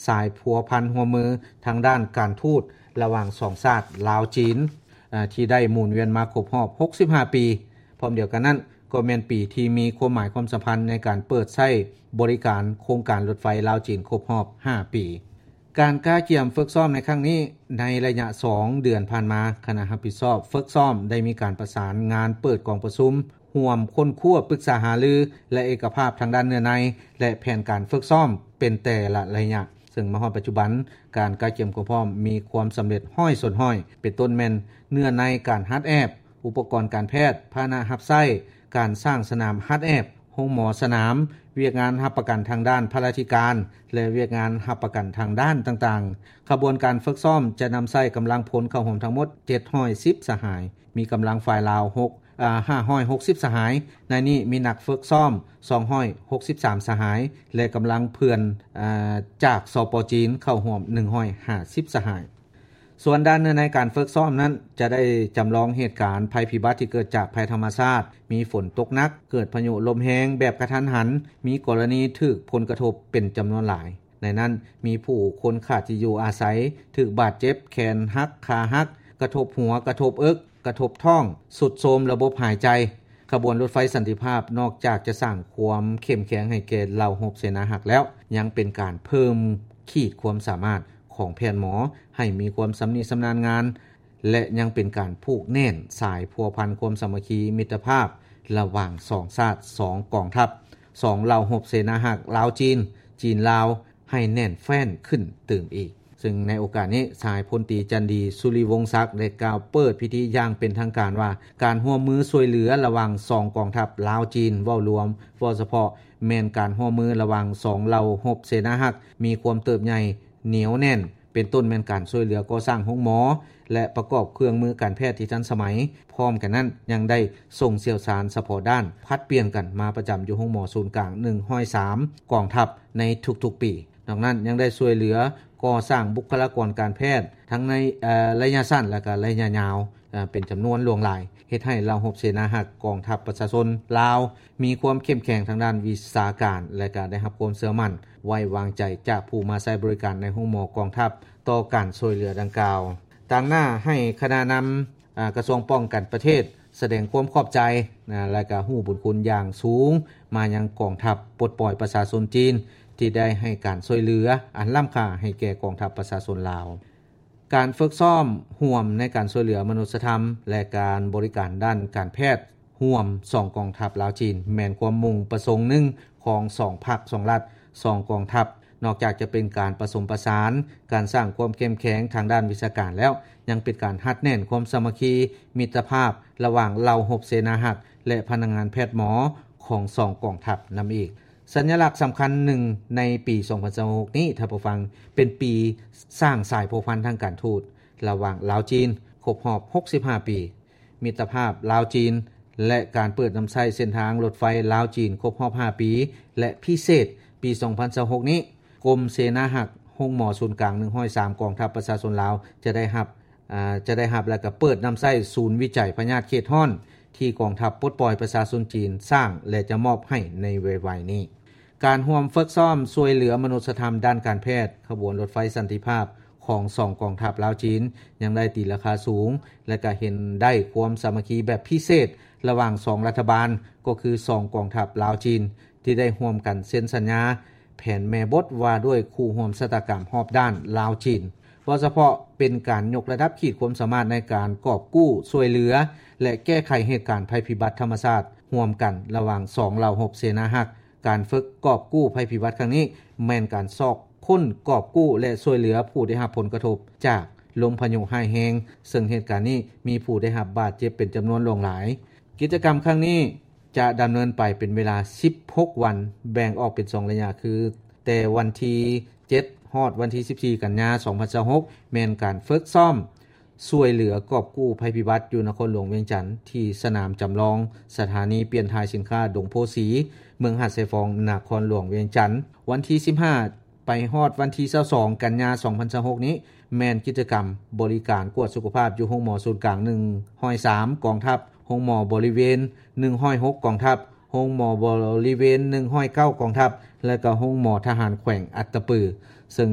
ສາຍພົວພັນຮ່ວມມືທາງດ້ານການທູດລະຫວ່າງສອງຊາດລາວ-ຈີນ ທີ່ໄດ້ໝູນວຽນມາຄົບຮອບຫົກສິບຫ້າປີ. ພ້ອມດຽວກັນນັ້ນ ກໍແມ່ນປີທີ່ມີຄວາມໝາຍຄວາມສຳຄັນໃນການເປີດໃຊ້ບໍລິການໂຄງການລົດໄຟລາວ-ຈີນຄົບຮອບຫ້າປີ. ການກະກຽມຝຶກຊ້ອມໃນຄັ້ງນີ້, ໃນໄລຍະສອງເດືອນຜ່ານມາ, ຄະນະຮັບຜິດຊອບຝຶກຊ້ອມໄດ້ມີການປະສານງານເປີດກອງປະຊຸມຮ່ວມຄົ້ນຄວ້າ, ປຶກສາຫາລື ແລະ ເອກະພາບທາງດ້ານເນື້ອໃນ ແລະ ແຜນການຝຶກຊ້ອມເປັນແຕ່ລະໄລຍະ, ເຊິ່ງມາຮອດປັດຈຸບັນ ການກະກຽມຄວາມພ້ອມມີຄວາມສຳເລັດຮ້ອຍສ່ວນຮ້ອຍ ເປັນຕົ້ນແມ່ນເນື້ອໃນການຫັດແອບ, ອຸປະກອນການແພດ, ພາຫະນະຮັບໃຊ້, ການສ້າງສະໜາມຫັດແອບ, ໂຮງໝໍສະໜາມ, ວຽກງານຮັບປະກັນທາງດ້ານພະລາທິການ ແລະ ວຽກງານຮັບປະກັນທາງດ້ານຕ່າງໆ. ຂະບວນການຝຶກຊ້ອມຈະນຳໃຊ້ກຳລັງພົນເຂົ້າຮ່ວມທັງໝົດເຈັດຮ້ອຍສິບສະຫາຍ, ມີກຳລັງຝ່າຍລາວຫົກ ອາ ຫ້າຮ້ອຍຫົກສິບສະຫາຍ, ໃນນີ້ມີນັກຝຶກຊ້ອມສອງຮ້ອຍຫົກສິບສາມສະຫາຍ ແລະ ກຳລັງເພື່ອນ ອາ ຈາກ ສປ ຈີນ ເຂົ້າຮ່ວມໜຶ່ງຮ້ອຍຫ້າສິບສະຫາຍ. ສ່ວນດ້ານເນື້ອໃນການຝຶກຊ້ອມນັ້ນ ຈະໄດ້ຈຳລອງເຫດການໄພພິບັດທີ່ເກີດຈາກໄພທຳມະຊາດ, ມີຝົນຕົກໜັກ, ເກີດພາຍຸລົມແຮງແບບກະທັນຫັນ, ມີກໍລະນີຖືກຜົນກະທົບເປັນຈຳນວນຫຼາຍ. ໃນນັ້ນ ມີຜູ້ຄົນຂາດທີ່ຢູ່ອາໄສ, ຖືກບາດເຈັບ, ແຂນຫັກ, ຂາຫັກ, ກະທົບຫົວ, ກະທົບເອິກ, ກະທົບທ້ອງ, ຊຸດໂຊມລະບົບຫາຍໃຈ. ຂະບວນລົດໄຟສັນຕິພາບ ນອກຈາກຈະສ້າງຄວາມເຂັ້ມແຂງໃຫ້ແກ່ເຫຼົ່າຮົບເສນາຮັກແລ້ວ, ຍັງເປັນການເພີ່ມຂີດຄວາມສາມາດຂອງແພດໝໍໃຫ້ມີຄວາມຊຳນິຊຳນານງານ ແລະ ຍັງເປັນການຜູກແໜ້ນສາຍພົວພັນຄວາມສາມັກຄີມິດຕະພາບລະຫວ່າງສອງຊາດ, ສອງກອງທັບ, ສອງເຫຼົ່າຮົບເສນາຮັກລາວ-ຈີນ, ຈີນ-ລາວ ໃຫ້ແໜ້ນແຟ້ນຂຶ້ນຕື່ມອີກ. ເຊິ່ງໃນໂອກາດນີ້ ສະຫາຍພົນຕີ ຈັນດີ ສຸລິວົງສັກ ໄດ້ກ່າວເປີດພິທີຢ່າງເປັນທາງການວ່າ ການຮ່ວມມືຊ່ວຍເຫຼືອລະຫວ່າງສອງກອງທັບລາວ-ຈີນ ເວົ້າລວມ, ເວົ້າສະເພາະ ແມ່ນການຮ່ວມມືລະຫວ່າງສອງເຫຼົ່າຮົບເສນາຮັກ ມີຄວາມເຕີບໃຫຍ່ໜຽວແໜ້ນ, ເປັນຕົ້ນແມ່ນການຊ່ວຍເຫຼືອກໍ່ສ້າງໂຮງໝໍ ແລະ ປະກອບເຄື່ອງມືການແພດທີ່ທັນສະໄໝ. ພ້ອມກັນນັ້ນ ຍັງໄດ້ສົ່ງຊ່ຽວຊານສະເພາະດ້ານຜັດປ່ຽນກັນມາປະຈຳຢູ່ໂຮງໝໍສູນກາງໜຶ່ງຮ້ອຍສາມກອງທັບໃນທຸກໆປີ. ນອກນັ້ນຍັງໄດ້ຊ່ວຍເຫຼືອກໍ່ສ້າງບຸກຄະລາກອນການແພດ ທັງໃນ ເອີ ໄລຍະສັ້ນ ແລະ ກະໄລຍະຍາວ ເປັນຈຳນວນຫຼວງຫຼາຍ, ເຮັດໃຫ້ເຫຼົ່າຮົບເສນາຮັກກອງທັບປະຊາຊົນລາວ ມີຄວາມເຂັ້ມແຂງທາງດ້ານວິຊາການ ແລະ ກະໄດ້ຮັບຄວາມເຊື່ອໝັ້ນໄວ້ວາງໃຈຈາກຜູ້ມາໃຊ້ບໍລິການໃນໂຮງໝໍກອງທັບຕໍ່ການຊ່ວຍເຫຼືອດັ່ງກ່າວ. ຕາງໜ້າໃຫ້ຄະນະນຳ ອາ ກະຊວງປ້ອງກັນປະເທດ ສະແດງຄວາມຂອບໃຈ ນະ ແລະ ກະຮູ້ບຸນຄຸນຢ່າງສູງມາຍັງກອງທັບປົດປ່ອຍປະຊາຊົນຈີນ ທີ່ໄດ້ໃຫ້ການຊ່ວຍເຫຼືອອັນລ້ຳຄ່າໃຫ້ແກ່ກອງທັບປະຊາຊົນລາວ. ການຝຶກຊ້ອມຮ່ວມໃນການຊ່ວຍເຫຼືອມະນຸດສະທຳ ແລະ ການບໍລິການດ້ານການແພດ ຮ່ວມສອງກອງທັບລາວ-ຈີນ ແມ່ນຄວາມມຸ່ງປະສົງໜຶ່ງຂອງສອງພັກ, ສອງລັດ, ສອງກອງທັບ. ນອກຈາກຈະເປັນການປະສົມປະສານ, ການສ້າງຄວາມເຂັ້ມແຂງທາງດ້ານວິຊາການແລ້ວ, ຍັງເປັນການຮັດແໜ້ນຄວາມສາມັກຄີ, ມິດຕະພາບລະຫວ່າງເຫຼົ່າຮົບເສນາຮັກ ແລະ ພະນັກງານແພດໝໍຂອງສອງກອງທັບນຳອີກ. ສັນຍະລັກສຳຄັນໜຶ່ງໃນປີສອງພັນຊາວຫົກນີ້, ທ່ານຜູ້ຟັງ, ເປັນປີສ້າງສາຍພົວພັນທາງການທູດລະຫວ່າງລາວ-ຈີນ ຄົບຮອບຫົກສິບຫ້າປີ. ມິດຕະພາບລາວ-ຈີນ ແລະ ການເປີດນຳໃຊ້ເສັ້ນທາງລົດໄຟລາວ-ຈີນຄົບຮອບຫ້າປີ ແລະ ພິເສດ ປີສອງພັນຊາວຫົກນີ້, ກົມເສນາຮັກໂຮງໝໍສູນກາງໜຶ່ງຮ້ອຍສາມ ກອງທັບປະຊາຊົນລາວ ຈະໄດ້ຮັບ ອາ ຈະໄດ້ຮັບ ແລະ ກະເປີດນຳໃຊ້ສູນວິໄຈພະຍາດເຂດຮ້ອນ ທີ່ກອງທັບປົດປ່ອຍປະຊາຊົນຈີນສ້າງ ແລະ ຈະມອບໃຫ້ໃນໄວໆນີ້. ການຮ່ວມຝຶກຊ້ອມຊ່ວຍເຫຼືອມະນຸດສະທຳດ້ານການແພດ ຂະບວນລົດໄຟສັນຕິພາບຂອງສອງກອງທັບລາວ-ຈີນ ຍັງໄດ້ຕີລາຄາສູງ ແລະ ກະເຫັນໄດ້ຄວາມສາມັກຄີແບບພິເສດລະຫວ່າງສອງລັດຖະບານ ກໍຄືສອງກອງທັບລາວ-ຈີນ ທີ່ໄດ້ຮ່ວມກັນເຊັນສັນຍາແຜນແມ່ບົດວ່າດ້ວຍຄູ່ຮ່ວມຊະຕາກຳຮອບດ້ານລາວ-ຈີນ. ເວົ້າສະເພາະເປັນການຍົກລະດັບຂີດຄວາມສາມາດໃນການກອບກູ້, ຊ່ວຍເຫຼືອ ແລະ ແກ້ໄຂເຫດການໄພພິບັດທຳມະຊາດຮ່ວມກັນລະຫວ່າງສອງເຫຼົ່າຮົບເສນາຮັກ. ການຝຶກກອບກູ້ໄພພິບັດຄັ້ງນີ້ ແມ່ນການຊອກຄົ້ນ, ກອບກູ້ ແລະ ຊ່ວຍເຫຼືອຜູ້ໄດ້ຮັບຜົນກະທົບຈາກລົມພາຍຸຮ້າຍແຮງ, ເຊິ່ງເຫດການນີ້ມີຜູ້ໄດ້ຮັບບາດເຈັບເປັນຈຳນວນຫຼວງຫຼາຍ. ກິດຈະກຳຄັ້ງນີ້ ຈະດຳເນີນໄປເປັນເວລາສິບຫົກວັນ, ແບ່ງອອກເປັນສອງໄລຍະ ຄື ແຕ່ວັນທີເຈັດ ຮອດວັນທີສິບສີ່ ກັນຍາ ສອງພັນຊາວຫົກ ແມ່ນການຝຶກຊ້ອມຊ່ວຍເຫຼືອກອບກູ້ໄພພິບັດຢູ່ນະຄອນຫຼວງວຽງຈັນ ທີ່ສະໜາມຈຳລອງສະຖານີປ່ຽນຖ່າຍສິນຄ້າດົງໂພສີ ເມືອງຫາດຊາຍຟອງ ນະຄອນຫຼວງວຽງຈັນ. ວັນທີສິບຫ້າ ໄປຮອດວັນທີຊາວສອງ ກັນຍາ ສອງພັນຊາວຫົກນີ້ ແມ່ນກິດຈະກຳບໍລິການກວດສຸຂະພາບຢູ່ໂຮງໝໍສູນກາງໜຶ່ງຮ້ອຍສາມ ກອງທັບ, ໂຮງໝໍບໍລິເວນໜຶ່ງຮ້ອຍຫົກ ກອງທັບ, ໂຮງໝໍບໍລິເວນໜຶ່ງຮ້ອຍເກົ້າກອງທັບ ແລະກໍໂຮງໝໍທະຫານແຂວງອັດຕະປື ເຊິ່ງ